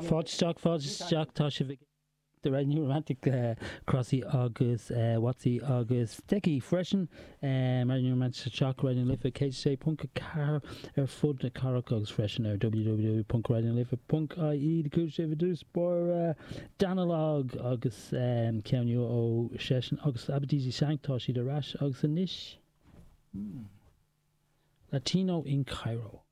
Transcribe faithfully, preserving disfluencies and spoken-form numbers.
Fáilte isteach, fáilte isteach, tá sibh ag The Red New Romantic uh, Crossy agus uh, Watsy agus Decky freisin um, Red New Romantic Shock Raidió na Life céad sé ponc ceathair ar fud na cathrach agus freisin ar www.radionalife.ie de cúis sé dús bor uh, Danalogue agus um, ceann nua ó seisean agus Abadisi Sank tá siad ar ais agus anois. Hmm. Latino in Cairo.